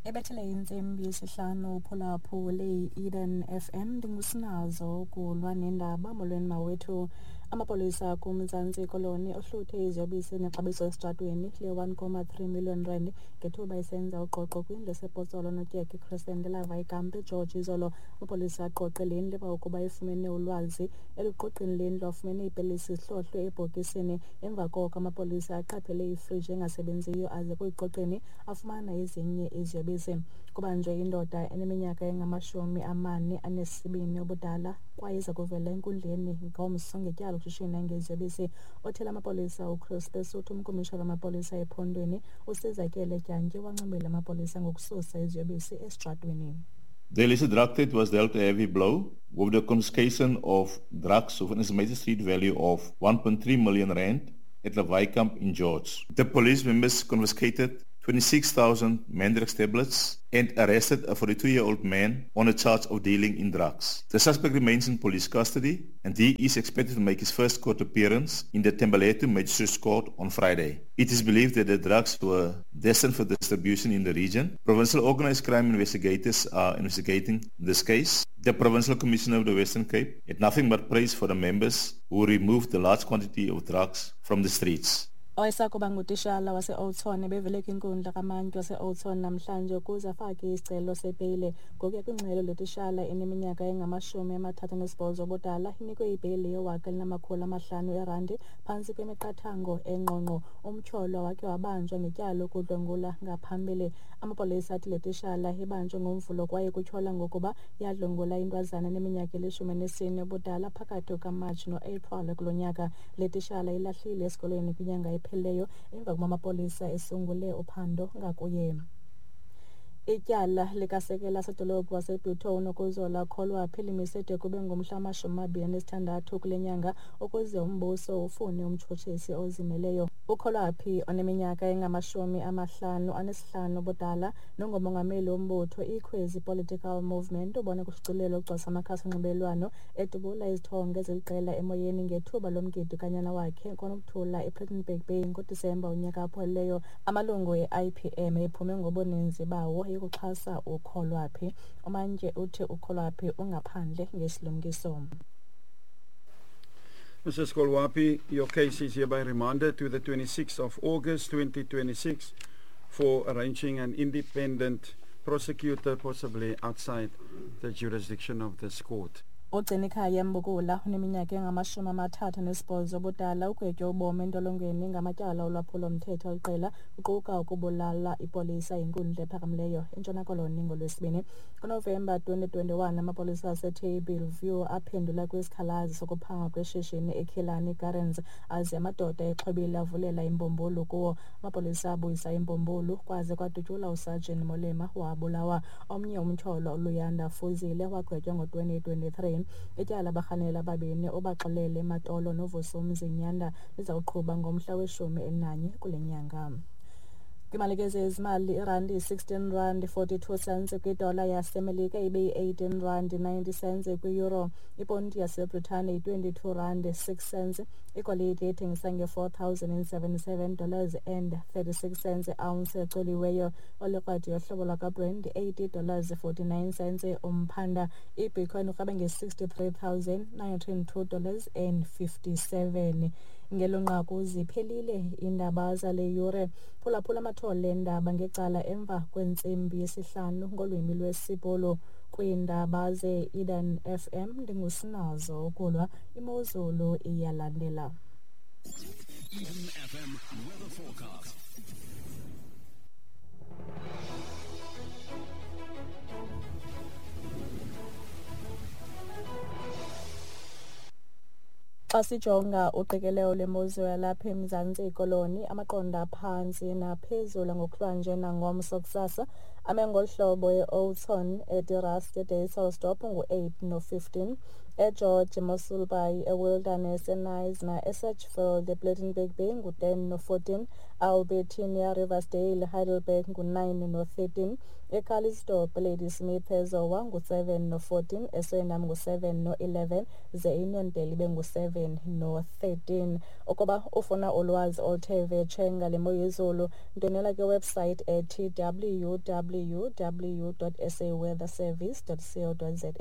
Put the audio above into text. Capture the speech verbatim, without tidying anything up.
Ebethele intsimbi yesihlanu uphulaphule i-Eden F M. Ndingusinazo ukulwa nendaba. Molweni mawethu. Amapolisa kuMzantsi Koloni ohluthe iziyobisi nexabiso esitratweni le-one comma three million rand ngethuba isenza uqoqo kwindlu esePotsolo Notyeke Crescent elava ikampu eGeorge izolo. Amapolisa aqoqe le ndlu emva kokuba efumene ulwazi. Eluqoqeni le ndlu afumene iipilisi zihlohlwe ebhokisini. Emva koko amapolisa aqaphele ifriji engasebenziyo aze kuyiqoqeni afumana ezinye iziyobisi. Kubanjwe indoda eneminyaka engamashumi amane anesibini ubudala kwaye iza kuvela enkundleni ngomso ngetyala lokushishina ngeziyobisi. Othela amapolisa uChris Besuthu, umkomishana wamapolisa ephondweni uSizakele Dyantyi wancomela amapolisa ngokususa iziyobisi esitratweni. The illicit drug trade was dealt a heavy blow with the confiscation of drugs with an estimated street value of one point three million rand at Lawai Camp in George. The police members confiscated twenty-six thousand Mandrax tablets and arrested a forty-two-year-old man on a charge of dealing in drugs. The suspect remains in police custody and he is expected to make his first court appearance in the Thembalethu Magistrates Court on Friday. It is believed that the drugs were destined for distribution in the region. Provincial organized crime investigators are investigating this case. The Provincial Commissioner of the Western Cape had nothing but praise for the members who removed the large quantity of drugs from the streets. Owayesakuba ngutishala wase-Oudtshoorn ebevele kwinkundla kamantyi wase-Oudtshoorn namhlanje ukuze afake isicelo sebheyile. Ngokuya kwingxelo, le tishala eneminyaka engamashumi amathathu anesibhozo ubudala inikwe ibheyile yewaka elinamakhulu amahlanu erandi phantsi kwemiqathango engqongqo. Umtyholwa wakhe wabanjwa ngetyala lokudlwengula ngaphambili. Amapolisa athi le tishala ibanjwe ngoMvulo kwaye kutyholwa ngokuba yadlwengula intwazana eneminyaka elishumi enesine ubudala phakathi kukaMatshi noApril kulo nyaka. Le tishala ilahlile esikolweni kwinyanga ephelileyo emva kokuba amapolisa esungule uphando ngakuye. Ityala likasekela sodolophu waseButho uNokuzola Kholwaphi limise de kube ngumhla wamashumi amabini anesithandathu kule nyanga ukuze umbuso ufune umtshutshisi ozimeleyo. UKholwaphi oneminyaka engamashumi amahlanu anesihlanu ubudala nongumongameli wombutho iKhwezi Political Movement ubone kushicilelo ugcwasa amakhasi onxibelelwano edubula izithonga eziliqela emoyeni ngethuba lomgidi kanyana wakhe kwaNokuthula ePlettenberg Bay ngoDisemba unyaka ophelileyo. Amalungu e-I P M ephume ngobuninzi bawo yokuxhasa uKholwaphi. Umantyi uthi uKholwaphi ungaphandle ngesilumkiso. Missus Kholwaphi, your case is hereby remanded to the twenty-sixth of August twenty twenty-six for arranging an independent prosecutor, possibly outside the jurisdiction of this court. Ugcinikhaya Mbukula uneminyaka engamashumi amathathu anesibhozo ubudala ugwetywe ubomi entolongweni ngamatyala olwaphulo-mthetho aliqela kuquka ukubulala ipolisa yinkundla ephakamileyo eNtshona Koloni ngoLwesibini. NgoNovemba twenty twenty-one amapolisa aseTable View aphendula kwisikhalazo sokuphangwa kweshishini eKillarney Gardens aze amadoda exhobile avulela imbumbulu kuwo. Amapolisa abuyisa imbumbulu kwaze kwadutyulwa uSergeant Molema wabulawa. Omnye umtyholwa uLuyanda Fuzile wagwetywa ngo-twenty twenty-three. Ityala abarhanela ababini uBaxolele Matolo noVusumzi Nyanda lizawuqhuba ngomhla weshumi elinanye kule nyanga. Kwimalike zezimali, irandi yi-sixteen rand forty-two cents kwidola yaseMelika ibe yi-eighteen rand ninety cents kwi-euro. Iponti yaseBritane yi-twenty-two rand six cents. Igolide ithengisa nge-four thousand and seventy-seven dollars and thirty-six cents ounce ecoliweyo. Olikrwadi yohlobo lwakwaBrent eighty dollars forty-nine cents umphanda. IBitcoin ikrwabe nge-sixty-three thousand nine hundred and two dollars and fifty-seven. Ngelo nqaku ziphelile iindaba zale yure. Phulaphula amathole eendaba ngecala emva kwentsimbi yesihlanu ngolwimi lwesiBhulu. Kwiindaba ze-Eden F M ndingusinazo ukulwa imozulu iyalandela. Eden F M weather forecast. Xa sijonga uqikelelo lwemozulu yalapha eMzantsi Koloni, amaqondo aphantsi naphezulu ngokuhlwanje nangomso kusasa ame ngolu hlobo: e-Oudtshoorn, eDe-Rust, eDysselsdorp ngu-eight no-fifteen, eGeorge, Mossel Bay, eWilderness, eKnysna, eSedgefield, ePlettenberg Bay ngu-ten no-fourteen, Albertinia, Riversdale, Heidelberg ngu-nine no-thirteen, eCalitzdorp, Ladysmith, eZowa ngu-seven no-fourteen, eSuriname ngu-seven no-eleven, ze iNew ibe ngu-seven no-thirteen. Ukuba ufuna ulwazi oluthe vetshe ngale mo yezulu, ndwendwela kwiwebsite ethi w w w dot s a weather service dot co dot za.